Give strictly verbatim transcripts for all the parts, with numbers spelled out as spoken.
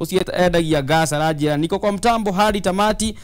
Ucio endagia gas aranjira niko kwa mtambo hadi tamati.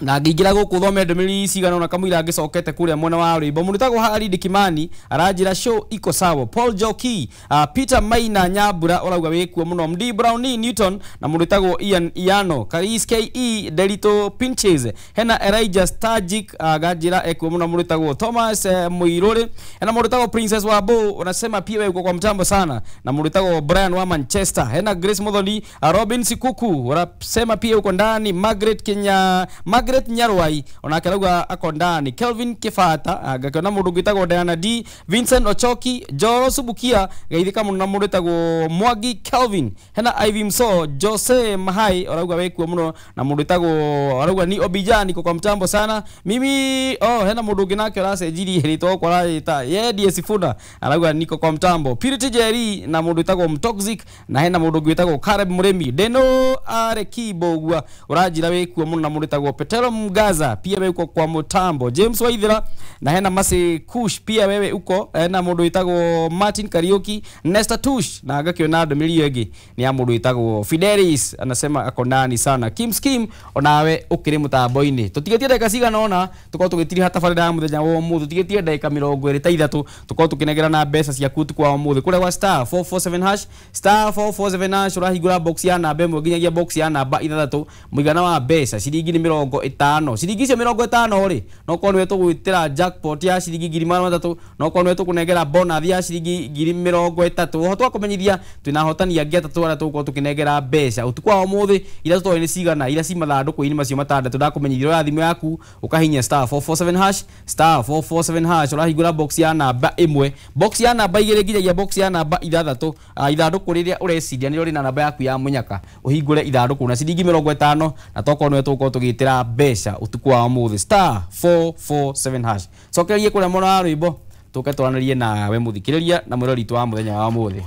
Na ngĩingĩra gũkũ thome ndũmĩrĩri cigana ũna kamũira ngĩcokete kũrĩa mwena wa rwĩmbo. Mũndũ wĩtagwo Haridi Kimani aranjĩra show iko sawa. Paul Joki, uh, Peter Maina Nyambura ũrauga wĩkuo mũno. Md Brownie Newton na mũndũ wĩtagwo Ian Iano, Karis K E Delito Pinches, hena Elijah Stagic uh, ganjĩra ekuo mũno. Mũndũ wĩtagwo Thomas uh, Muiruri, hena mũndũ wĩtagwo Princess Wabo unasema pia wewe uko kwa mtambo sana, na mũndũ wĩtagwo Brian wa Manchester, hena Grace Muthoni, uh, Robin Sikuku unasema pia uko ndani, Margaret Kenya, Margaret Nyarwai onake arauga ako ndani, Kelvin Kifata ngakiona mundu gwitagwo Diana D, Vincent Ochoki, Joro Subukia geithika muno na mundu witagwo Mwangi Kelvin, hena Ivy Mso, Jose Mahai arauga wekuo muno na mundu witagwo arauga ni Obijani kwa mtambo sana mimi. Oh, hena mundu ungi nake aracenjirie ritwa kwa arita yendie Sifuna arauga niko kwa mtambo, Purity Jerry na mundu witagwo Mtoxic, na hena mundu gwitagwo Caleb Murimi, Deno Arekibo uranjira wekuo muno na mundu witagwo Petero Mgaza pia wewe uko kwa mutambo, James Waithira na hena Masi Kush pia wewe uko, hena mundu witagwo Martin Kariuki, Nesta Tush na ngakiona ndũmĩrĩri ĩngĩ ni ya mundu witagwo Fidelis anasema ako ndani sana. Kim Skim onawe ukiri mutambo-inĩ. Tutigetie ndagĩka cigana ona tukorwo tugĩtiriha tabarĩra ya mũthenya wa ũmũthĩ, tutigetie ndagĩka mĩrongo ĩrĩ ta ithatũ tukorwo tũkĩnengerana mbeca ciaku ũtukũ wa ũmũthĩ kũrĩa gwa star four four seven hash, star four four seven hash ũrahingũra box ya namba ĩmwe nginyagia box ya namba ithathatũ, mũigana wa mbeca ciringi nĩ mĩrongo ĩtano. Ciringi icio mĩrongo ĩtano rĩ no korwo nĩwe tũgwĩtĩra jackpot ya ciringi ngiri magana matatũ, no korwo nĩwe tũkũnengera bonus ya ciringi ngiri mĩrongo ĩtatũ. Oho twakũmenyithia twĩna ahotani angĩ atatũ arĩa tũgũkorwo tũkĩnengera mbeca ũtukũ wa ũmũthĩ, iria tũtoĩ nĩ cigana, iria ci mathandũkũ-inĩ macio matandatũ. Ndakũmenyithia oya thimũ yaku ũkahinya star four four seven hash, star four four seven hash ũrahingũra box ya namba ĩmwe, box ya namba igĩrĩ nginyagia box ya namba ithathatũ. Ithandũkũ rĩrĩa ũreciria nĩrĩo rĩna namba yaku ya mũnyaka, ũhingũre ithandũkũ na ciringi mĩrongo ĩtano na tokorwo nĩwe tũgũkorwo tũgĩtĩra mbeca ũtukũ wa ũmũthĩ, star four four seven hash. Cokererie kũrĩa mwena wa rwĩmbo tũke twaranĩrie nawe mũthikĩrĩria na mwĩrori witũ wa mũthenya wa ũmũthĩ.